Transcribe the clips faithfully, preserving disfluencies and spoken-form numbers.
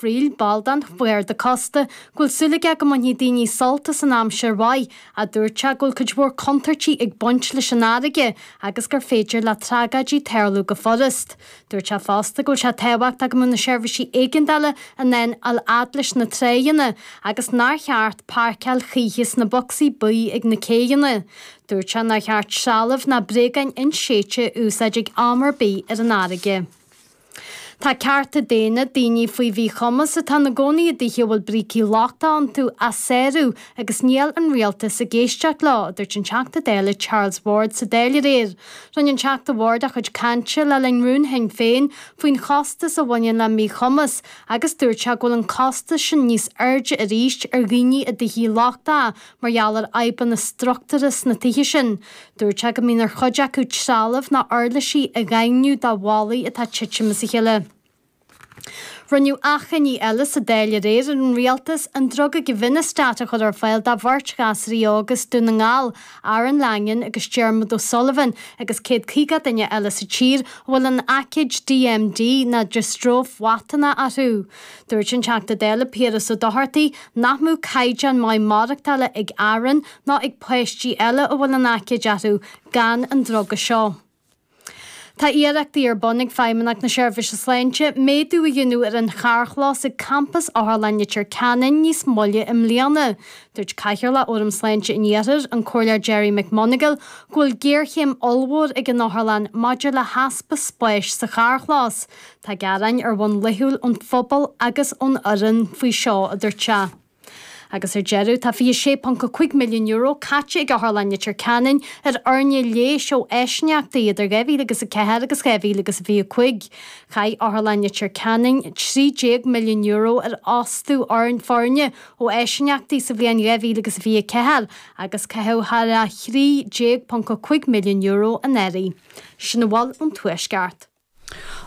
Friel, ball den Gharda Cósta, go bhfuil súil aige go mbainfidh daoine sult as an aimsir mhaith, ach dúirt sé go bhfuil cuid mhór contúirtí ag baint leis an fharraige agus gur féidir le tragóidí tarlú go furast. Dúirt sé fosta go bhfuil sé tábhachtach go mbeadh na seirbhísí éigeandála in ann a fháil fhad leis na tráigheanna agus nár cheart páirceáil choíche sna bocsaí buí ag na céidheanna. Dúirt sé nár cheart trealamh ná bréagáin inséidte a úsáid ag am ar bith ar an fharraige. Tá cearta daonna daoine faoi mhíchumas atá ina gcónaí i dtithe a bhfuil brící lochtacha iontu á sárú agus níl an rialtas ag éisteacht leo, a dúirt an Teachta Dála Charles Ward sa Dáil aréir. Rinne an Teachta Ward a chuid cainte le linn rún Shinn Féin faoin chostas a bhaineann le míchumas agus dúirt sé go bhfuil an costas sin níos airde arís ar dhaoine i dtithe lochtacha mar gheall ar fhadhbanna struchtúrtha sna tithe sin. Dúirt sé go mbíonn ar chuid acu trealamh ná uirlisí a dhaingniú do bhallaí atá ag titim as a chéile. Rinneadh achainí eile sa Dáil aréir ar an rialtas an druga Givinostat a chur ar fáil do bheirt ghasraí óga as Dún na nGall, Aaron Langan agus Dermot O'Sullivan agus céad caoga duine eile sa tír a bhfuil an aicíd DMD ná diostróif mhatonach orthu. Dúirt an Teachta Dála Piaras Ó Dochartaigh nach mbeadh caighdeán maith maireachtála ag Aaron ná ag páistí eile a bhfuil an aicíd orthu gan an druga seo. Tá iarrachtaí ar bun ag Feidhmeannacht na Seirbhíse Sláinte méadú a dhéanamh ar an charrchlós ag campas Otharlann Leitir Ceanainn níos moille i mbliana. Dúirt Cathaoirleach Fhóram Sláinte an Iarthair, an Comhairleoir Gerry McMonagall, go bhfuil géarchéim ollmhór ag an Otharlann maidir le heaspa spáis sa charrchlós. Tá gearáin ar bhonn laethúil ón phobal agus ón fhoireann faoi seo, a dúirt sé. Agus ar deireadh tá fiche sé ponc a cúig milliún euro caite ag Otharlann Leitir Ceanainn ar fhoirne leighis ó áisíneachtaí idir dhá mhíle agus a ceathair agus dhá mhíle agus a fiche cúig. Chaith Otharlann Leitir Ceanainn trí déag milliún euro ar fhostú foirne ó áisíneachtaí sa bhliain dhá mhíle agus a fiche ceathair agus caitheadh thar a thrí déag ponc a cúig milliún euro anuraidh. Sin a bhfuil ón Tuaisceart.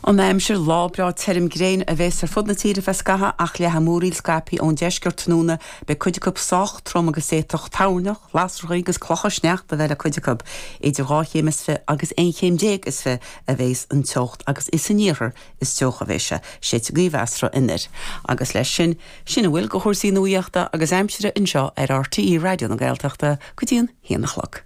An aimsir lá breá tirim gréine a bheas ar fud na tíre feadh scaithimh ach leathfaidh múraíl scaipthe ón deisceart tráthnóna beidh cuid acu sách trom agus d'fhéadfadh toirneach, lasracha agus clocha sneachta a bheith le cuid acu. Idir dhá chéim is fiche agus aon chéim déag is fiche a bheas an teocht agus is san iarthar is teocha a bheas sé, séidfidh gaoth mheasartha anoir. Agus leis sin, sin a bhfuil de chúrsaí nuachta agus aimsire anseo ar RTÉ Raidió na Gaeltachta go dtí an haon a chlog.